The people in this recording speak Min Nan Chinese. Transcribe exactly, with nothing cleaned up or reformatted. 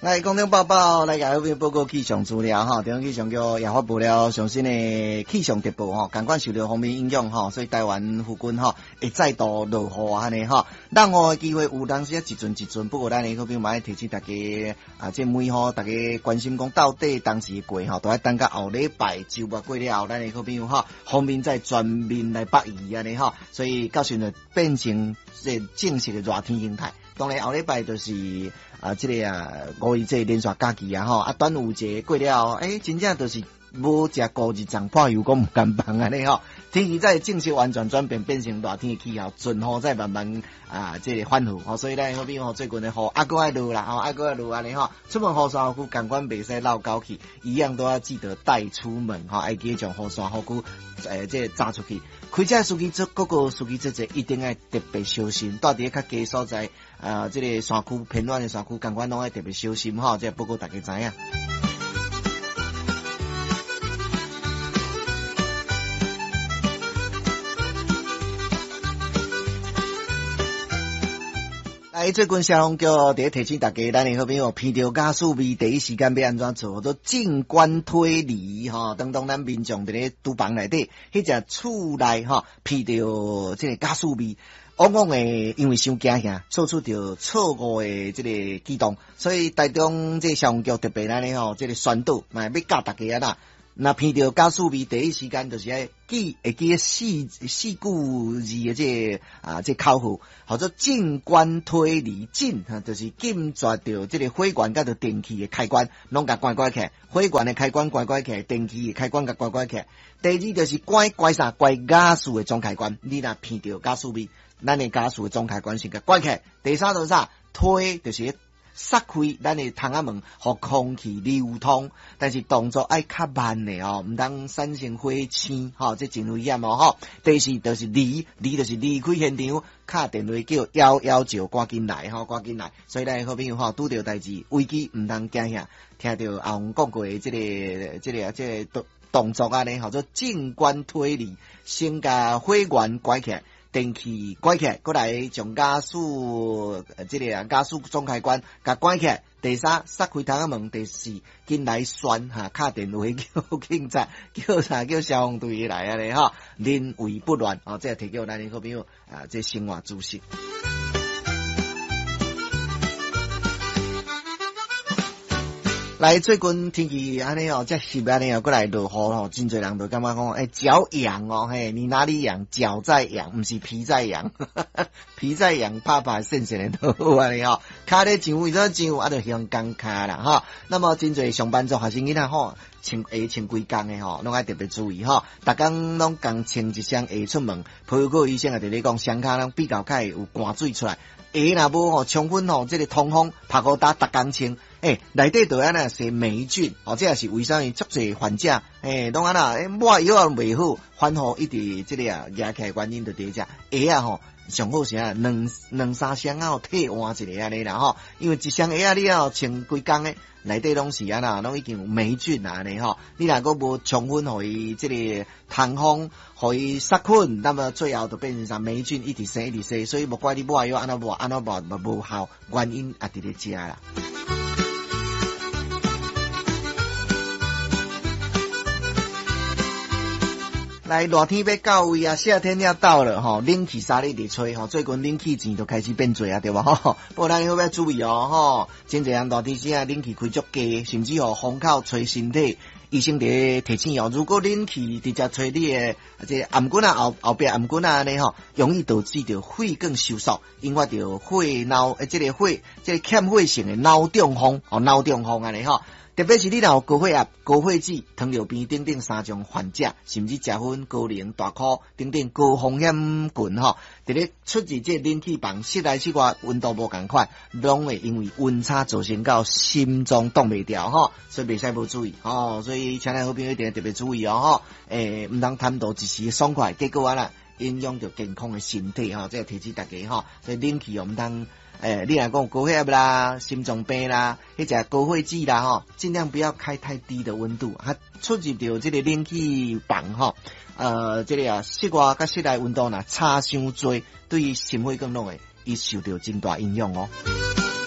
來，空中報報來共好朋友報告氣象資料吼，中央氣象局也發布了上新的氣象特報吼，仝款受著鋒面影響吼，所以台灣附近吼會再度落雨按呢吼，落雨的機會有當時啊一陣一陣，不過咱的好朋友嘛愛提醒大家啊，這每雨大家關心講到底當時過吼，都愛等到後禮拜週末過了後，咱的好朋友吼鋒面再全面來北移按呢吼，所以到時陣變成這正式的熱天形態。當然後禮拜就是啊，這个啊五一節連續假期啊吼，啊端午節過了後，欸，真正就是無食五日粽破油閣毋甘放按呢吼。天氣才正式完全轉變，變成熱天的氣候，陣雨再慢慢啊，這个反覆吼，所以咱好朋友最近的雨猶閣愛落啦吼，猶閣愛落按呢吼，出門雨傘雨具仝款袂使落狗去，一樣都要記得帶出門吼，愛記得將雨傘雨具欸這个紮出去。開車司機做各個司機做者一定愛特別小心，蹛佇咧較低所在啊，這个山區偏遠的山區，仝款攏愛特別小心吼，這個報告大家知影。來，最近消防局佇咧提醒大家，咱的好朋友鼻著瓦斯味，第一時間欲按怎做？做靜觀推離吼，當當咱民眾佇咧廚房內底，彼隻厝內吼鼻著這个瓦斯味，往往會因為傷驚嚇，做出著錯誤的這个舉動，所以台中這个消防局特別按呢吼，這个宣導，嘛欲教大家啊啦。若鼻著瓦斯味，第一時間就是愛記會記四四句字的這个啊，這个口號，號做靜觀推離，靜哈，就是禁絕著這个火源佮著電器的開關，攏共關關起來，火源的開關關關起來，電器的開關共關關起來。第二就是關關啥？關瓦斯的總開關，你若鼻著瓦斯味，咱的瓦斯的總開關先共關起來。第三就是啥？推就是。塞開咱的窗仔門，予空氣流通，但是動作愛較慢的哦，毋通產生火星，吼，這真危險哦，吼。第四就是離，離就是離開現場，敲電話叫一一九，趕緊來，吼，趕緊來。所以咱好朋友吼，拄著代誌危機，毋通驚嚇，聽著阿紅講過的這个、這个、這个動動作按呢，號做靜觀推離，先共火源關起來。電器關起來，閣來將瓦斯這个瓦斯總開關共關起來。第三，塞開窗仔門。第四，緊來宣哈，敲電話叫警察，叫啥叫消防隊來按呢吼，臨危不亂哦，這個提供咱的好朋友啊，這生活知識。來，最近天氣按呢哦，遮濕按呢哦，閣來落雨吼，真濟人就感覺講，欸，腳癢哦，嘿，你哪裡癢？腳在癢，毋是皮在癢，皮在癢，拍拍跣跣的都好按呢吼。跤咧上，為怎上？啊，就胸工跤啦吼。那麼真濟上班族學生囡仔吼，穿鞋穿規工的吼，攏愛特別注意吼。逐工攏共穿一雙鞋出門，皮膚科醫生也佇咧講，雙跤攏比較較會有汗水出來。鞋若無吼充分吼，這个通風，曝雨焦逐工穿。欸，內底就按怎生黴菌，哦，這也是為啥物足濟患者，欸，攏按怎，欸，抹藥也袂好，反覆一直這个啊，夯起來原因就佇遮鞋仔吼，上好是按怎兩兩三雙仔替換一下按呢啦吼，因為一雙鞋仔你哦穿規工的，內底攏是按怎，攏已經有黴菌啊按呢吼，你若閣無充分予伊這个通風，予伊殺菌，那麼最後就變成啥黴菌一直生一直生，所以無怪你抹藥按怎抹按怎抹嘛無效，原因也佇咧遮啦。來，熱天欲到位啊，夏天要到了吼，冷氣三日佇吹吼，最近冷氣錢就開始變濟啊，對無吼？不過咱閣欲注意哦吼，真濟人熱天時啊，冷氣開足低，甚至予風口吹身體。醫生佇咧提醒哦，如果冷氣直接吹你的這頷頸仔後後壁頷頸仔按呢吼，容易導致著血管收縮，引發著血腦欸這个血這个欠血性的腦中風哦，腦中風按呢吼。特別是你若有高血壓、高血脂、糖尿病等等三種患者，甚至食薰、高齡、大箍等等高風險群吼，佇咧出入這冷氣房，室內室外溫度無仝款，攏會因為溫差造成到心臟擋袂牢吼，所以袂使無注意吼，所以請咱好朋友一定特別注意哦吼，欸，毋通貪圖一時爽快，結果按怎影響著健康的身體吼，這個提醒大家吼，所以冷氣哦毋通。欸，你若講高血壓啦、心臟病啦，彼隻高血脂啦吼，盡量不要開太低的溫度。啊，出入著這个冷氣房吼，呃，這个啊，室外佮室內溫度若差傷濟，對心血管攏會伊受著真大影響哦。